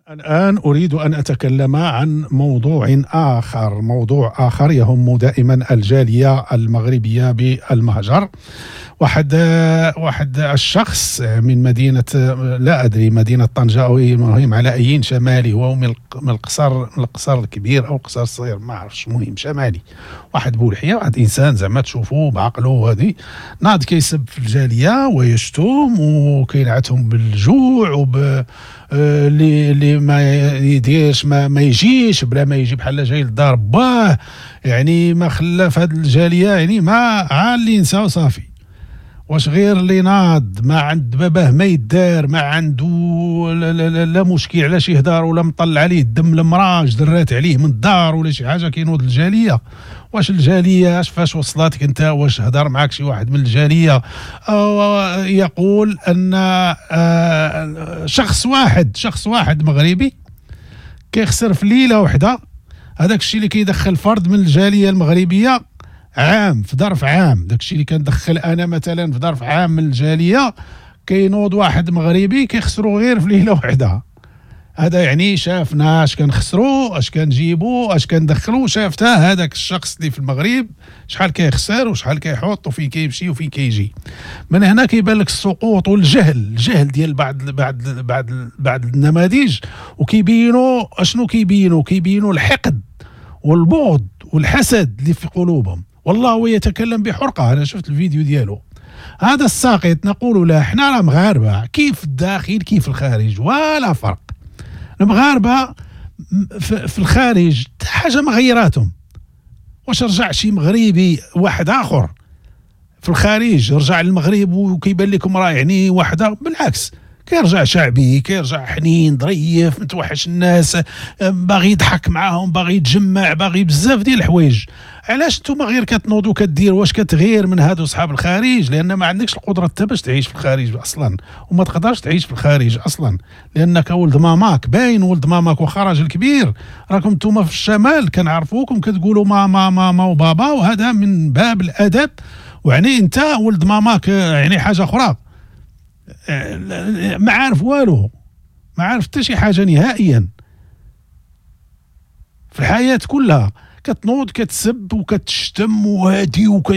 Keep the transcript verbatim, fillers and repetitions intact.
الآن أريد أن أتكلم عن موضوع آخر، موضوع آخر يهم دائما الجالية المغربية بالمهجر. واحد واحد الشخص من مدينة، لا أدري مدينة طنجة أو المهم على أيين شمالي، هو من القصر من القصر الكبير أو القصر الصغير ما عرفتش، المهم شمالي، واحد بولحية، واحد إنسان زعما تشوفوه بعقله وهذه، ناض كيسب في الجالية ويشتم وكينعتهم بالجوع وب اللي اللي ما يديرش ما, ما يجيش بلا ما يجي بحال جاي للدار باه، يعني ما خلى في هذه الجالية يعني ما عا اللي نسى وصافي. واش غير اللي ناض ما عند باباه ما يدار، ما عنده لا, لا, لا, لا مشكل علاش يهدر ولا مطلع عليه الدم المراج درات عليه من الدار ولا شي حاجة كينوض الجالية. واش الجالية اش فاش وصلتك انت؟ واش هدر معك شي واحد من الجالية؟ أو يقول ان شخص واحد شخص واحد مغربي كيخسر في ليلة واحدة هذاك الشيء اللي كيدخل فرد من الجالية المغربية عام، في ظرف عام. داك الشيء اللي كندخل انا مثلا في ظرف عام من الجالية، كينوض واحد مغربي كيخسرو غير في ليلة واحدة. هذا يعني شافنا اش كنخسرو، اش كنجيبو، اش كندخلو، شافتها هذاك الشخص اللي في المغرب شحال كيخسر وشحال كيحط وفين كيمشي وفين كيجي. من هنا كيبان لك السقوط والجهل، الجهل ديال بعض بعض بعض بعض النماذج. وكيبينوا اشنو كيبينوا؟ كيبينوا الحقد والبغض والحسد اللي في قلوبهم. والله هو يتكلم بحرقه، انا شفت الفيديو ديالو. هذا الساقط نقول له احنا راه مغاربة، كيف الداخل كيف الخارج ولا فرق. المغاربة في الخارج حاجة ما غيراتهم. واش رجع شي مغربي واحد اخر في الخارج رجع للمغرب وكيبان لكم راه يعني واحد؟ بالعكس كيرجع شعبي، كيرجع حنين ظريف، متوحش الناس، باغي يضحك معاهم، باغي يتجمع، باغي بزاف ديال الحوايج. علاش نتوما غير كتنوضوا كدير؟ واش كتغير من هادو صحاب الخارج؟ لان ما عندكش القدرة حتى باش تعيش في الخارج اصلا، وما تقدرش تعيش في الخارج اصلا لانك ولد ماماك، باين ولد ماماك واخا راجل كبير. راكم نتوما في الشمال كنعرفوكم كتقولوا ماما ماما وبابا، وهذا من باب الادب. ويعني انت ولد ماماك يعني حاجة اخرى، ما عارف والو، ما عارف حتى شي حاجة نهائيا في الحياة كلها. كتنوض كتسب وكتشتم وهادي وك